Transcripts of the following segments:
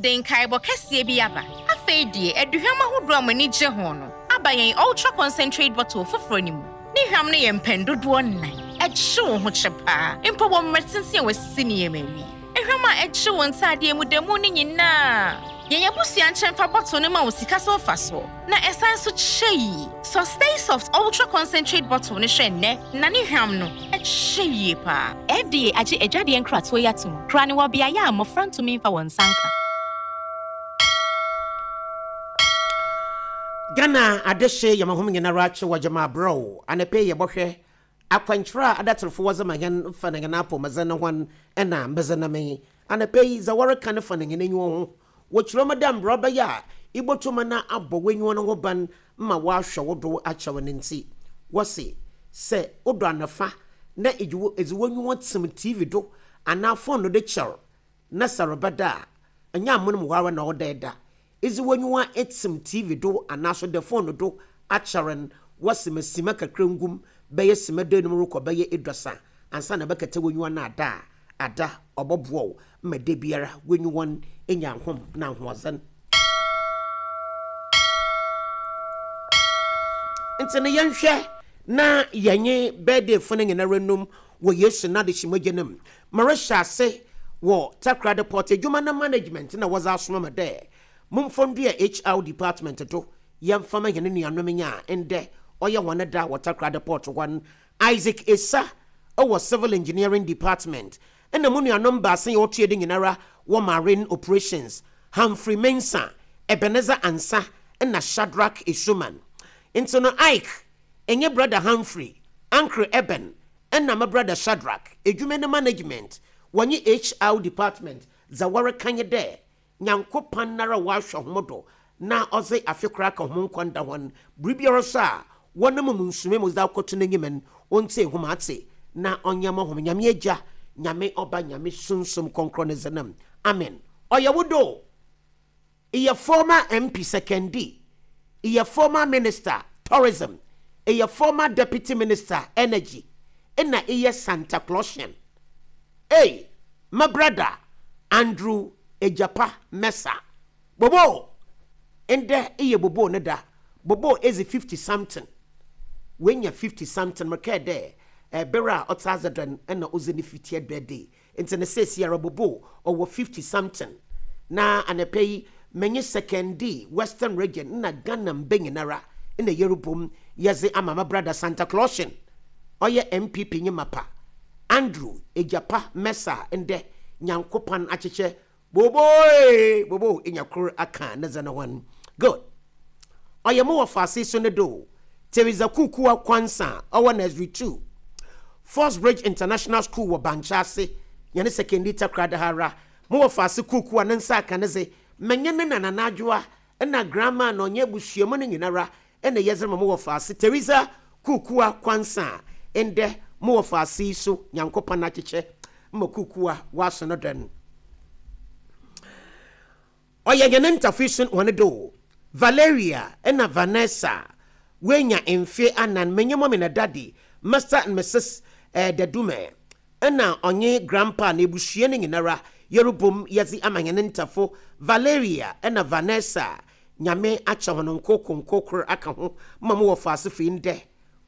De nkaebɔ kɛseɛ bi aba. Afei deɛ, aduhwam ahodoɔ a mo ani gye ho no aba yɛn Ultra Concentrate Bottle foforɔ no mu. Ne hwam no yɛ mpɛn dodoɔ nnan. Ɛgye wo ho kyɛ paa, mpo wɔ mmerɛ tenten a wɔasisi nneɛma awie. Ehwam a ɛgye wo ntaadeɛ mu da mu no nyinaa. Yɛn abusua nkyɛn fa bottle no ma wo sika so mfasoɔ, na ɛsan nso kyɛ yie. Sɔ Stay Soft Ultra Concentrate Bottle no hwɛ nnɛ, na ne hwam no, ɛkyɛ yie paa. FDA agye adwadeɛ nkratoɔ yi atom, kora no wɔ beaeɛ a mmɔfra ntumi mfa wɔn nsa nka. Ghana adehye yɛma hom nyinara kye wɔ gyama abrɛ o, anapa yi yɛbɔhwɛ akwankyerɛ a adatserfo wɔdze ma hɛn fa na hɛn apɔwmudzen no hɔn na medze nam yi. Anapa yi dza wɔreka no fa na hɛn enyiwa ho. Wɔkyerɛ mu dɛ mbrɛ ɔbɛyɛ a ibotum na abɔ w'enyiwa no ho ban ma wɔahwɛ wo do akyɛw no ntsi, wɔse sɛ odɔ anɔfa na edze w'enyiwa tsim TV do anaa fon do kyɛr na sɛ rebɛda a, nnyɛ amonmu hɔ ara na ɔwɔ dɛ eda. Edze w'enyiwa etsim TV do anaaso dɛ fon do akyɛr no, wɔse ma sima kakra ngu mu, bɛyɛ sima duenum rokɔ bɛyɛ eduasa ansaana ebɛkɛtɛ w'enyiwa no ada a, ada, ɔbɔboa wo ma da biara w'enyiwa no enya ahom na ahoɔdzen. Ntsi no yɛnhwɛ na yɛnye birthdayfo no nyinara nnum wɔ Yesu n'adehye mogya no mu. Merehyɛ ase wɔ Takoradi Port edwuma no management na wɔdze asoma me dɛ momfa ndua HR department do yɛmfa ma hɛn nuanom nye a ndɛ ɔyɛ hɔn da wɔ Takoradi Port hɔ no, Isaac Essah wɔ Civil Engineering Department nna mo nuanom baasa yi a wɔtoa do nyinara wɔ Marine Operations, Humphrey Mensah, Ebenezer Ansah na Shadrack Essuman. Ntsi no Ike nye Brɔda Humphrey, Uncle Eben nna me brɔda Shadrack, edwuma no management, wɔnye HR department, dza wɔrekã nye dɛ, Nyankopɔn noara ɔahwɛ hom do na ɔdze afe kor aka hom nkwa nda hɔn, biribiara so a wɔnam mu nsumee mu dze akɔto n'enyim no, ontsie hom atse na ɔnyɛ mma hom. Nyame Egya, Nyame Ɔba, Nyame Sunsum Krɔnkrɔn ne dzin mu, amen. Ɔyɛ wo dɛ o! Eyɛ former MP Sekondi, eyɛ former Minister, Tourism, eyɛ former Deputy Minister, Energy, nna eyɛ Santa Clausian. Ei, me brada Andrew Egyapa Mercer, Bobo! Ndɛ eyɛ Bobo ne da, Bobo edzi 50 something, oenya 50 something, mekɛɛ dɛ ber a ɔtse adze do no nna odzi ne 50th birthday, Ntsi no seseiara Bobo ɔwɔ 50 something na anapa yi menye Sekondi, Western Region na Ghana mba nyinara na yerobɔ mu yɛdze ama me brada Santa Clausian ɔyɛ NPP nye mapa Andrew Egyapa Mensah ndɛ Nyankopɔn akyekyɛ Bobo ee Bobo enya kor aka ne dze no ho n good Ɔyɛ mo wɔfaase so ne do Theresa Kuukua Quansah a ɔwɔ Nursery 2, Force Bridge International School wɔ Bankye ase, hɛn Sekondi Takoradi ha ara. Mo wɔfaase Kuukua ne nsa aka ne dze, menye ne nana N'adwoa na Grandma na ɔnye ebusua mu no nyinara na yɛdze rema mo wɔfaase Theresa Kuukua Quansah a ndɛ mo wɔfaase yi so Nyankopɔn akyekyɛ ma Kuukua ɔaso no dɛn. Ɔyɛ hɛn ntafo sun hɔn do. Valeria na Vanessa woenya mfe anan, menye Mommy na Daddy, Mister and Misus Dadume, nna ɔnye Grandpa na ebusua no nyinara yerobɔ mu yɛdze ama hɛn ntafo Valeria na Vanessa. Nyame akyɛ hɔn nkorkor nkorkor aka ho ma mo wɔfaase fii ndɛ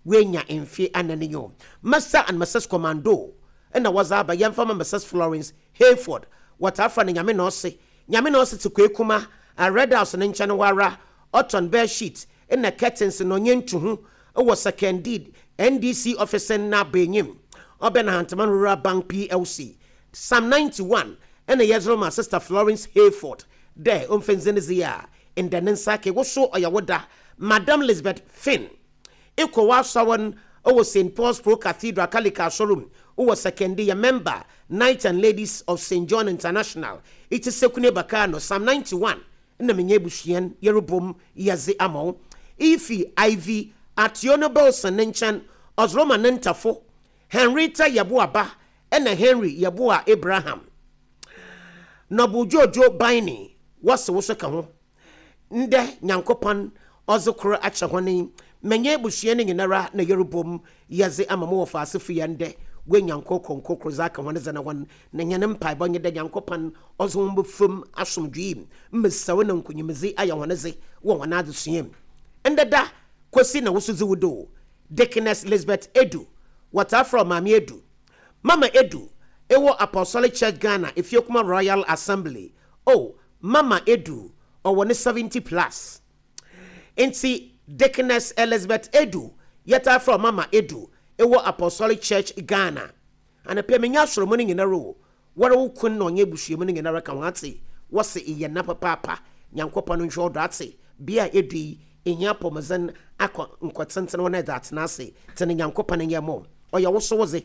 woenya mfe anan nye o. Mister and Misus Commando na wɔdze aba, yɛmfa mma Misus Florence Hayford, wɔtaa frɛ no Nyame na Ɔse, Nyame na Ɔse tse Kwekuma a Red House ne nkyɛn hɔ ara, ɔtɔn bed sheet na curtains na ɔnye ntuho wɔ Sekondi NDC ɔfese n'abaenyim, ɔbɛn Ahantaman Rural Bank PLC. Psalm 91 na yɛdze rema Sister Florence Hayford dɛ ɔmfa ndzi ne dze a ndɛ ne nsa aka. Wo so ɔyɛ wo da, Madam Lisbeth Finn. Ekɔ w'asɔr no wɔ Saint Paul's Pro Cathedral Kalika Asɔr mu wɔ Sekondi, yɛ member Knights and Ladies of Saint John International, itse Sekune Bakano, Psalm 91 na menye ebusua n' yɛrobɔ mu yɛdze ama wo. Iyi fi Ivy Ationo Bilson ne nkyɛn, ɔdze rema ne ntafo, Henrietta Yeboah ba na Henry Yeboah Abraham. Noble Jojo Biney, wɔse wo so ka ho. Ndɛ Nyankopɔn ɔdze kor akyɛ hɔn yi, menye ebusua no nyinara na yerobɔ mu yɛdze ama mo wɔfaasefo yi a ndɛ Woenya nkorkor nkorkor dze aka hɔn dze no ho, na hɛn mpaabɔ nye dɛ Nyankopɔn ɔdze hɔn bɛfa mu asomdwee mu, mbesaw na nkunyimdzi ayɛ hɔn dze wɔ hɔn adzesua mu. Ndɛ da, Kwesi na wo so dzi wo do o. Deaconess Lisbeth Edu, wɔtaa frɛ wo Maame Edu. Mama Edu, ewɔ Apostolic Church Ghana, Efiekuma Royal Assembly. Oh, Mama Edu, ɔwɔ ne 70 plus. Ntsi Deaconess Elizabeth Edu, yɛtaa frɛ wo Mama Edu, ewɔ Apostolic Church Ghana. Anapa yi menye asɔr mu no nyinara o, woara wo kun na ɔnye ebusua mu no nyinara ka ho atse, wɔse eyɛ nã papaapa, Nyankopɔn nhwɛ wo do atse, bea a edu yi, ihia apɔwmudzen akɔ nkɔtsentsen hɔ na edze atsena ase, tse no Nyankopɔn nyɛ mɔ, ɔyɛ wo so wodze.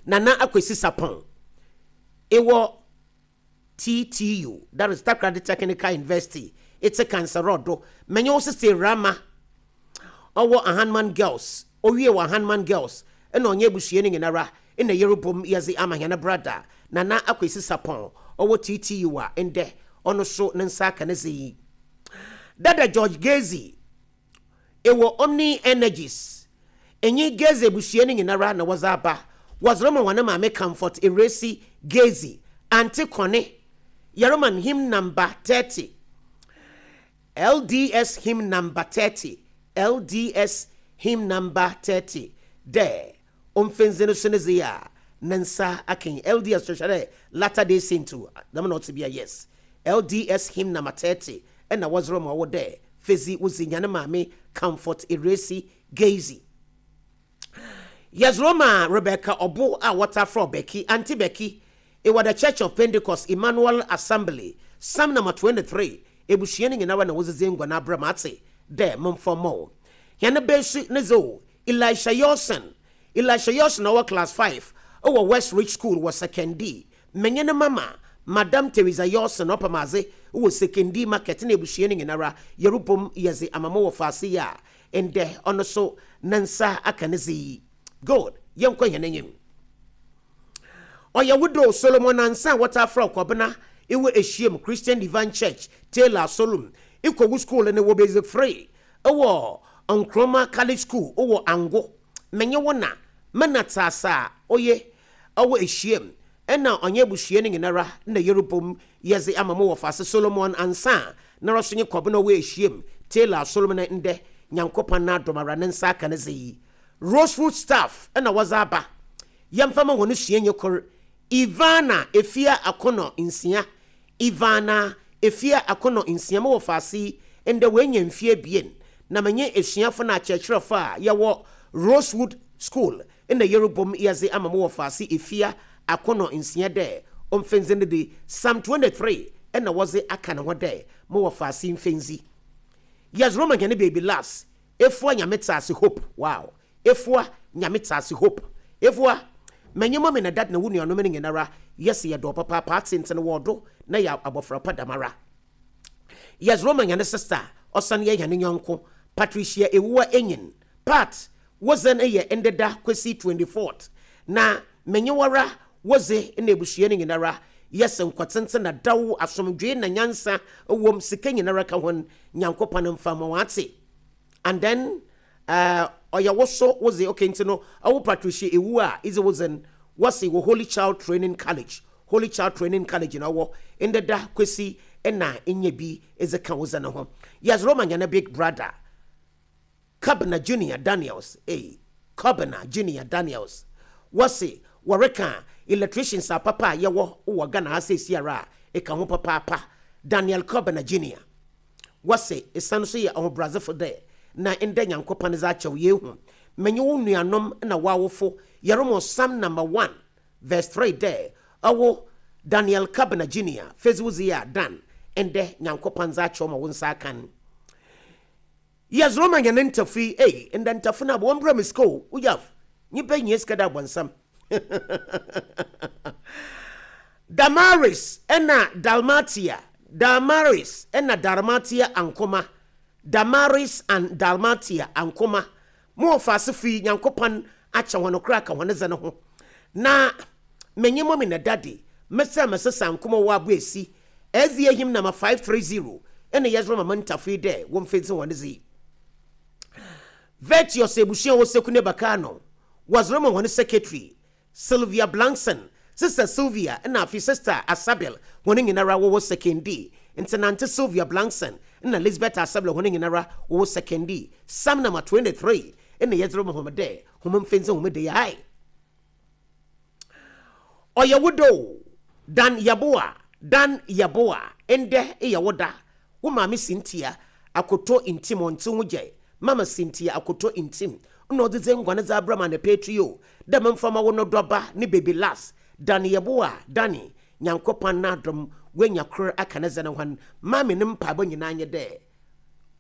Nana Akwesi Sarpong, ewɔ TTU, that is Takoradi Technical University, etse Kansarɔ do, menye wo sesei Rama, ɔwɔ Ahanman Girls, owie wɔ Ahanman Girls, nna ɔnye ebusua no nyinara nna yerobɔ mu yɛdze ama hɛn brada Nana Akwesi Sarpong, ɔwɔ TTU a ndɛ ɔno so ne nsa aka ne dze yi. Dada George Gezi, ewɔ Omni Energies, enye Gezi ebusua no nyinara na wɔdze aba, wɔdze rema hɔn maame Comfort Ewuresi Gezi, Auntie Connie, yɛrema no hymn number 30. LDS Hymn Number 30 LDS Hymn Number 30 Dɛ omfendze no so ne dze a ne nsa akã yi LDS kyerɛ dɛ Latter Day Saint o, dɛm na ɔtse bia, yes. LDS Hymn Number 30 nna wɔdze rema wo dɛ fedzi wo dze nya ne maame Comfort Eresi Geizi. Yɛdze rema Rebecca Ɔbo a wɔtaa frɛ wo Becky, Auntie Becky, ewɔ The Church of Pentecost Emmanuel Assembly, Psalm number 23, ebusua no nyinara na wodzidzi nguan abrɛ me atse dɛ momfa mma wo. Hɛn ba su ne dze o, Elisha Yorson, Elisha Yorson a ɔwɔ class 5 wɔ West Ridge School wɔ Sekondi, menye ne mama, Madam Theresa Yorson ɔpam adze wɔ Sekondi Market na ebusua no nyinara yɛrobɔ mu yɛdze ama mo wɔfaase yi a Ndɛ ɔno so ne nsa aka ne dze yi. Good, yɛnkɔ hɛn enyim. Ɔyɛ wo do Solomon Ansah a wɔtaa frɛ wo Kɔbena, ewɔ Ehyiam Christian Divine Church, Taylor Asolum, ekɔ wo skuul no wɔ Basic Free, ewɔ Nkrumah College School wɔ Ango. Menye wo na, me na tse ase a, oye, ɔwɔ Ehyiam, nna ɔnye ebusua no nyinara na yerobɔ mu yɛdze ama mo wɔfase Solomon Ansah noara so nye Kɔbena ɔwɔ Ehyiam, Taylor Asolom na ndɛ Nyankopɔn n'adom ara ne nsa aka ne dze yi. Rosewood staff na wɔdze aba. Yɛmfa ma hɔn suanyi kor, Ivana Efia Akonor Nsia. Ivana Efia Akonor Nsia, mo wɔfase yi, ndɛ oenya mfe ebien, na menye esuafo na akyerɛkyerɛfo a yɛwɔ Rosewood School Nna yerobɔ mu yɛdze ama mo wɔfaase Efia Akɔnɔ Nsia dɛ omfendzi no de, Psalm 23 na wɔdze aka no ho dɛ mo wɔfaase mfendzi. Yɛdze rema hɛn baby Lars, Efua Nyame tse ase Hope, wow, Efua Nyame tse ase Hope, Efua, menye mummy na dad na wo nuanom no nyinara yɛse yɛdɔ wo papaapa atsentsen wɔ ɔdo na yɛ abɔfra pa dɛmara. Yɛdze rema hɛn sister a ɔsan yɛ hɛn nyɛnko, Patricia Ewuwa Enyin, Pat, Wo dze no yɛ ndeda kwesi 24th, na menye woara wo dze na ebusua no nyinara yɛ se nkɔtsentsen na daw, asomdwee na nyansa wɔ mu, sika nyinara ka hɔn, Nyankopɔn mfa mma wɔatse. And then eh, ɔyɛ wo so wo dze, okay, ntsi no ɔwo Patricia ewu a idze wo dze no, wɔse wɔ Holy Child Training College, Holy Child Training College na ɔwɔ, ndeda kwesi na enya bi edze ka wo dze no ho. Yɛdze rema hɛn big brother. Kobina Junior Daniels ei, Kobina Junior Daniels Wɔse wɔreka electricians apapa a yɛwɔ wɔ Ghana ha seesiara a, eka ho papaapa Daniel Kobina Junior Wɔse esan so yɛ ɔhobrɛadzefo dɛ na ndɛ Nyankopɔn dze akyɛ wo Yeehu menye wo nuanom na w'awofo yɛromɔ Psalm number one verse 3 dɛ ɔwo Daniel Kobina Junior fedzi wo dze a Dan ndɛ Nyankopɔn dze akyɛ wo ma wo nsa aka n'. Yes Roma hɛn ntafo yi ei ndɛ ntafo no aba wɔmbrɛ me sika o woyaf nyimpa hia sika dɛ abɔnsam Damaris na Dalmatia Damaris na Dalmatia Ankoma Damaris and Dalmatia Ankoma Mo wɔfaasefo yi Nyankopɔn akyɛ hɔn koraa ka hɔn dze no ho na menye mummy na daddy mesɛ mesesa Ankoma wɔ Aboesi SDA hymn number 530 na yɛdze rema mo ntafo yi dɛ womfedzi hɔn dze yi. Virtuous ebusua a ɔwɔ Sekune Bakano, wɔdze rema hɔn secretary. Sylvia Blankson, Sister Sylvia na afei Sister Asabel hɔn nyinara wɔwɔ Sekondi. Ntsi Nante Sylvia Blankson na Lisbeth Asabel hɔn nyinara wɔwɔ Sekondi. Psalm number 23 na yɛdze rema hom dɛ hom mfa ndzi hom da yi. Ae! Ɔyɛ wo dɛ o, Dan Yeboah, Dan Yeboah, ndɛ eyɛ wo da. Wo maame Cynthia Akoto Ntim ɔnntse ho gyɛe, Mama Cynthia Akoto Ntim nna ɔdze dze nguan dze abrɛ me anapa etu yi o, dɛ memfa ma wo no dɔba ne baby Last, Dan Yeboah, Danny, Nyankopɔn n'adom woenya kor aka ne dze no hɔn, Maame ne mpaabɔ nyina nye dɛ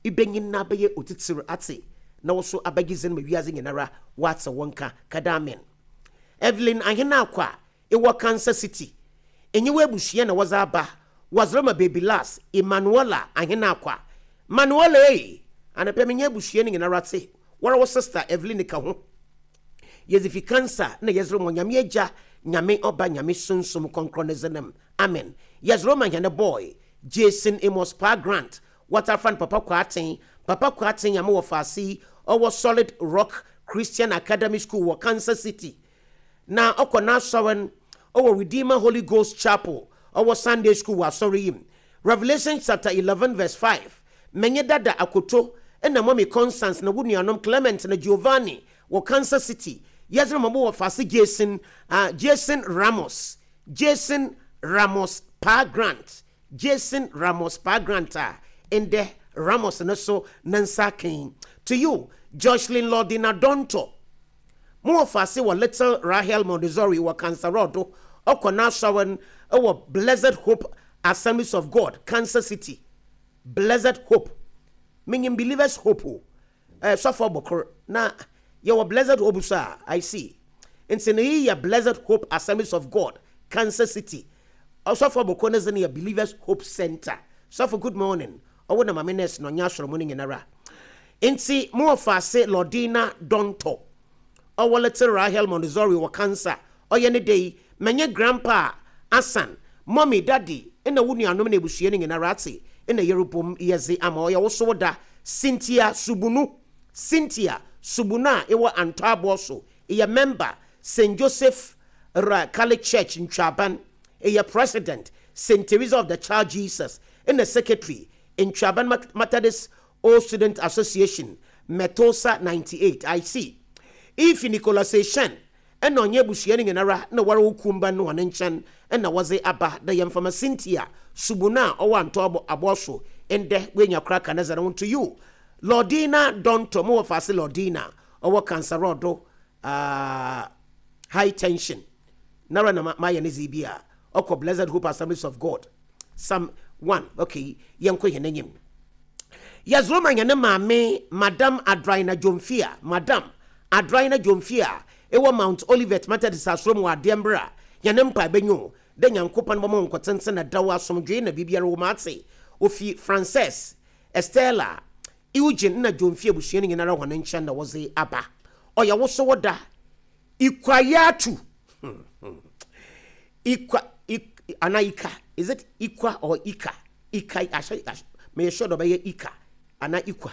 ibenyin na abɛyɛ otsitsir atse na wo so abɛgye dzin ma wiadze nyinara wɔatse wo nka, kɛdɛ amen. Evelyn Ahenakwa Ewɔ Kansas City, enye w'ebusua na wɔdze aba, wɔdze rema Baby Lars, Emmanuella Ahenakwa. Manuela ei! Anapa menye ebusua no nyinara tse, woara wo sister Eveline ka ho. Yɛdze fi Kansas na yɛdze rema Onyame Egya, Nyame Ɔba, Nyame Sunsum Krɔnkrɔn ne dzin mu. Amen. Yɛdze rema hɛn boy, Jason Amos Paa Grant, wɔtaa frɛ no Papa Kwarteng, Papa Kwarteng Nyame wɔ faase yi, ɔwɔ Solid Rock Christian Academy School wɔ Kansas City. Na ɔkɔ n'asɔr no wɔ Redeemer Holy Ghost Chapel, ɔwɔ Sunday School wɔ asɔr yi mu. Revelation chapter 11 verse 5, Menye Dada Akoto na Mommy Constance na wo nuanom Clement na Giovanni wɔ Kansas City, yɛdze rema mo wɔfaase Jason ah Jason Ramos, Jason Ramos Paa Grant, Jason Ramos Paa Grant a ndɛ Ramos no so ne nsa aka yi. To you, Joshlyn Lordina Donto. Mo wɔfaase wɔ Little Rahel Montessori wɔ Kansarɔɔ do, ɔkɔ n'asɔr no wɔ Blessed Hope Assemblies of God, Kansas City. Blessed Hope. Minyim Believers Hope o, eh, sɔfo ɔbɔkor, na yɛwɔ Blessed Hope so a, I see. Ntsi no iyi yɛ Blessed Hope Assemblies of God, Kansas City. Ɔsɔfo ɔbɔkor ne dze no yɛ Believers Hope Center. Sɔfo, good morning. Ɔwo na Maame Nurse na ɔnye asɔr mu no nyinara. Ntsi mo wɔfaase Lordina Dontɔ, ɔwɔ Little Rahel Montessori wɔ Kansas, ɔyɛ ne dɛ yi, menye Grandpa Asan, Mommy, Daddy, na wo nuanom na ebusua no nyinara atse na yerobɔ mu yɛdze ama ɔyɛ wo so wo da. Cynthia Subunu, Cynthia Subunu a ewɔ Antɔ Aboɔso, eyɛ member, Saint Joseph Ra Catholic Church, Ntwaban, eyɛ President, Saint Teresa of the Child Jesus, na Secretary, Ntwaban Methodist Old Student Association, Metosa 98, I see. Ifi Nicholas Eshen na ɔnye ebusua no nyinara na wɔrowo kuwmba no hɔn nkyɛn na wɔdze aba dɛ yɛmfa ma Cynthia Subunu a ɔwɔ Antɔ Aboɔso ndɛ oenya kor aka ne dze no ho to you Lordina Donto mo wɔfaase Lordina ɔwɔ Kansarɔdo ah high tension nara na mayɛ ne dze bi a ɔkɔ Blessed Hope Assemblies of God Psalm 1 okay yɛnkɔ hɛn enyim. Yɛdze hɛn maame Madam Adraina Jomfia, Madam Adraina Jomfia ewɔ Mount Olivet Methodist asɔr mu wɔ adeɛ mber a hɛn mpaebɔ nye o dɛ Nyankopɔn bɛma wo nkɔtsentsen na daw asomdwee na biribiara wɔ mu atse. Ofi Frances, Estella, Eugene na Jomfia ebusua no nyinara hɔn nkyɛn na wɔdze aba. Ɔyɛ wo so wo da. Ikwayatu. Ikwa, ik, ana Ika, is it Ikwa or Ika? Ika, ahyɛ, ahyɛ, meyɛ sure dɛ ɔbɛyɛ Ika ana Ikwa.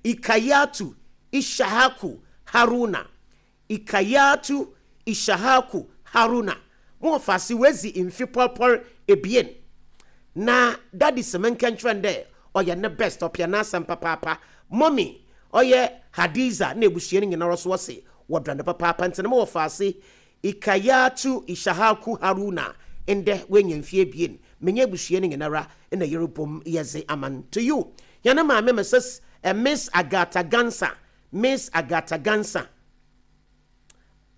Ikayatu Ishahaku Haruna. Ikayatu Ishahaku Haruna. Mo wɔfaase oedzi mfe pɔrpɔr ebien. Na daddy se menka nkyerɛ no dɛ ɔyɛ ne best, ɔpɛ n'asɛm papaapa. Mummy, ɔyɛ Hadiza na ebusua no nyinara so wɔse wɔdɔ no papaapa ntsi no mo wɔfaase Ikayatu Ishahaku Haruna ndɛ oenya mfe ebien, menye ebusua no nyinara na yerobɔ mu yɛdze ama no. To you, hɛn maame Mrs. Miss Agatha Gansa, Miss Agatha Gansa,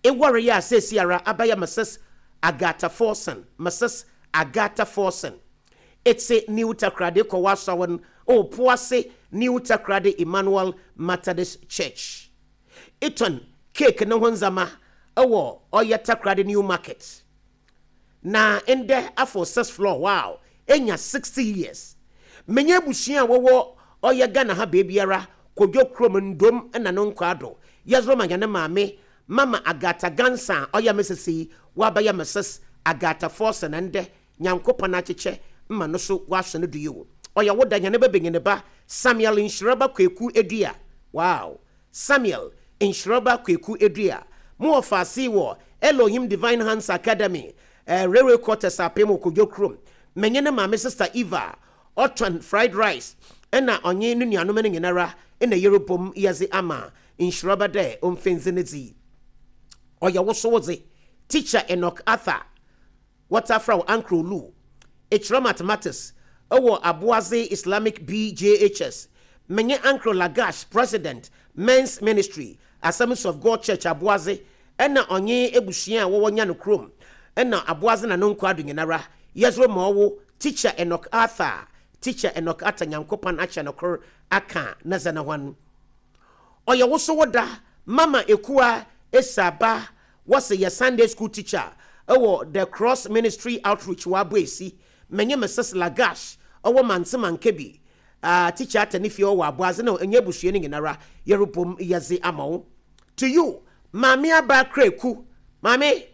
ewaree a seseiara abɛyɛ Mrs. Agatha Forson, Mrs. Agatha Forson. Etse New Takoradi kɔ w'asɔr no wɔ Poase New Takoradi Emmanuel Methodist Church. Etɔn cake no ho ndzɛmba wɔ ɔyɛ Takoradi New Market. Na ndɛ afow sixth floor wow enya 60 years. Menye ebusua a wɔwɔ ɔyɛ Ghana ha beebiara, Kodwo kurom, Ndom na no nkwaado. Yɛdze rema hɛn maame Mama Agatha Gansa a ɔyɛ me sese yi, ɔabɛyɛ Mrs Agatha Forson ndɛ Nyankopɔn akyekyɛ ma no so ɔaso no do yi o. Ɔyɛ wo da hɛn babanyin ba Samuel Nhyiraba Kweku Edua wow Samuel Nhyiraba Kweku Edua mo wɔfaase wɔ Elohim Divine Hands Academy, Railway Quarters Apem wɔ Kodwo kurom. Menye ne maame Sister Eva ɔtɔn fried rice na ɔnye no nuanom no nyinara na yerobɔ mu yɛdze ama nhyiraba dɛ omfi ndze ne dzi. Ɔyɛ wo so wo dze. Teacher Enoch Arthur. Wɔtaa frɛ wo Uncle Olu. Ekyerɛ Mathematics wɔ Aboadze Islamic BJHS. Menye Uncle Lagash, President, Men's Ministry, Assemblies of God Church Aboadze na ɔnye ebusua a wɔwɔ Nyanokrom na Aboadze na no nkwa do nyinara yɛdze rema ɔwo Teacher Enoch Arthur. Teacher Enoch Arthur Nyankopɔn akyɛ no kor aka ne dze no ho. Ɔyɛ wo so wo da Mama Ekua Esaba wɔse yɛ Sunday school teacher wɔ The Cross Ministry Outreach wɔ Aboesi. Menye Mrs Lagash ɔwɔ Mantse Mankebi teacher ata ne fie ɔwɔ Aboadze na ɔnye ebusua no nyinara yɛrobɔ mu yɛdze ama wo. To you, Maame Aba Kraku. Maame,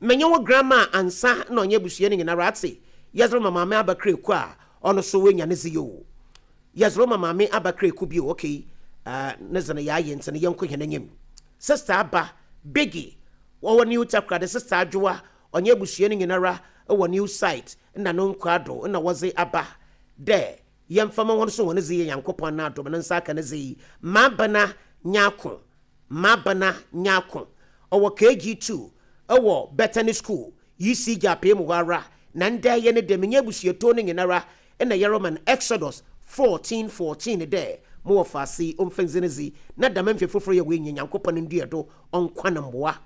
menye wo grandma ansa na ɔnye ebusua no nyinara atse yɛdze rema Maame Aba Kraku a ɔno so wenya ne dze yo. Yɛdze rema Maame Aba Kraku bio, okay. Ne dze no yɛayɛ nti no yɛnkɔ hɛn enyim. Sister Aba Biggie wɔwɔ New Takoradi, Sister Adwoa ɔnye ebusua no nyinara wɔ New Site na no nkwa do na wɔdze aba dɛ yɛmfa ma hɔn so hɔn dze yɛ Nyankopɔn n'adom ne nsa aka ne dze yi. Mabena Nyako, Mabena Nyako ɔwɔ KG2 ɛwɔ Bethany School ECG apee mu hɔ ara na ndɛ yɛ ne dɛ menye abusuatoɔ no nyinara ɛna yɛrema no Exodus 14:14 dɛ mowɔ faase ɔmfa ndzi ne dzi na dɛm mfe foforɔ yɛ wɔanya Nyankopɔn ndua do ɔnkwa ne mboa.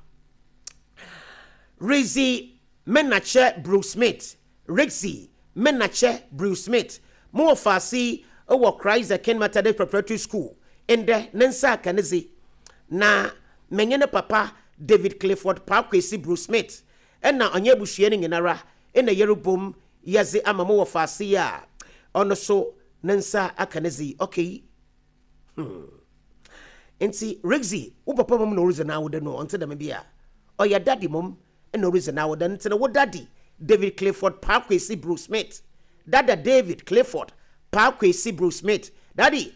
Rizzy Menakyɛ Bruce Smith, Rixie Menakyɛ Bruce Smith, mowɔ faase wɔ Christ the King Methodist Preparatory School ndɛ ne nsa aka ne dzi na menye ne papa David Clifford Paakwesi Bruce Smith ɛna ɔnye abusua no nyinara ɛna yɛrebom yɛdze ama mowɔ faase yi a ɔno so ne nsa aka ne dzi. Okay. Nti Rixie, wo papa mom na oridzi n'awoda no, ɔnte dɛm bi a ɔyɛ daddy mom na oridzi n'awoda nti no wo daddy David Clifford Paakwesi Bruce Smith, dada David Clifford Paakwesi Bruce Smith, daddy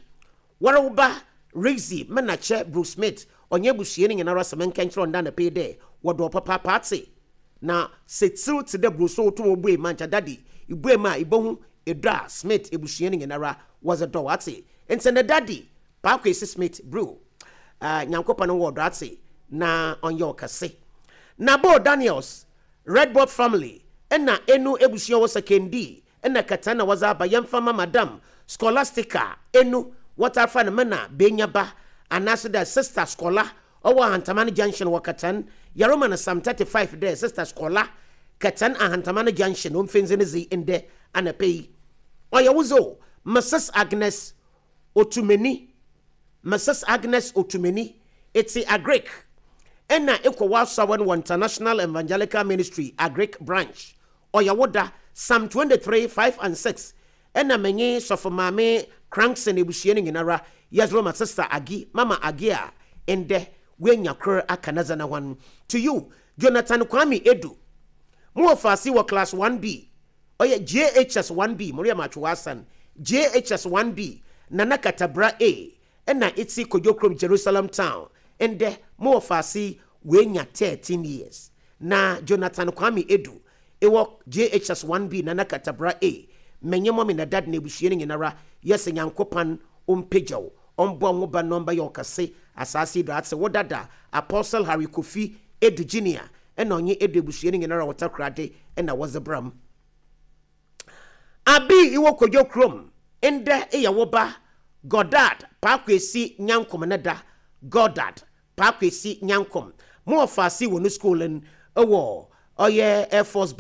wɔre wo ba Rixie Menakyɛ Bruce Smith ɔnyɛ abusua no nyinara sɛ menka nkyerɛ ɔnda anɔpa yi dɛ wɔdɔ papaapa ate na sɛ tsir te dɛ Bruce wotum obue ma nkyɛ daddy ibue ma a ibohu edɔ a Smith abusua no nyinara wɔdze dɔ ate nti ne daddy Paakwesi Smith Brew, Nyankopɔn wɔ ɔdɔ ate na ɔnyɛ ɔkɛse. Nabo Daniels, Red Bob family ɛna enu ebusua wɔ Sekondi ɛna kata na wɔdze aba yɛmfa ma Madam Scholastica enu wɔtafa no mena benya ba anaasɛ dɛ Sister Scholar ɔwɔ Ahantaman Junction wɔ Katan. Yɛrema no Psalm 35 dɛ Sister Scholar Katan Ahantaman Junction ɔmfɛndzi ne dze ndɛ anapa yi. Ɔyɛ wo zo Mrs Agnes Otumeni, Mrs Agnes Otumeni, etse Agric ɛna ekɔ w'asawa no wɔ International Evangelical Ministry Agric Branch. Ɔyɛ wo da Psalm 23 5 and 6 ɛna menye sɔfo maame Crankson ebusua no nyinara yɛdze ma Sister Agi, Mama Agi a ndɛ woenya kor aka ne dze ne ho. To you, Jonathan Kwame Edu, mowɔ faase wɔ class 1B, ɔyɛ JHS 1B, Maria Matwo Asan JHS 1B, Nana Katabra A ɛna eti Kodwokrom Jerusalem Town. Ndɛ mowɔ faase woenya 13 years na Jonathan Kwame Edu ewɔ JHS 1B, Nana Katabra A, menye mɔmi na dad na ebusua no nyinara yɛsɛ Nyankopɔn ɔmpagyaw ɔmbɔ ho ba na ɔmbɛyɛ ɔkɛse asase yi do ate. Wo dada Apostle Harry Kofi Edu Junior ɛna ɔnye Edu ebusua no nyinara wɔtakorade ɛna wɔdze bram. Abi iwɔ Kodwo kurom, ndɛ eyɛ wo ba Godard Paakwesi Nyankom ne da. Godard Paakwesi Nyankom, mo wɔ faase wɔ no school no ɛwɔ ɔyɛ Air Force Base.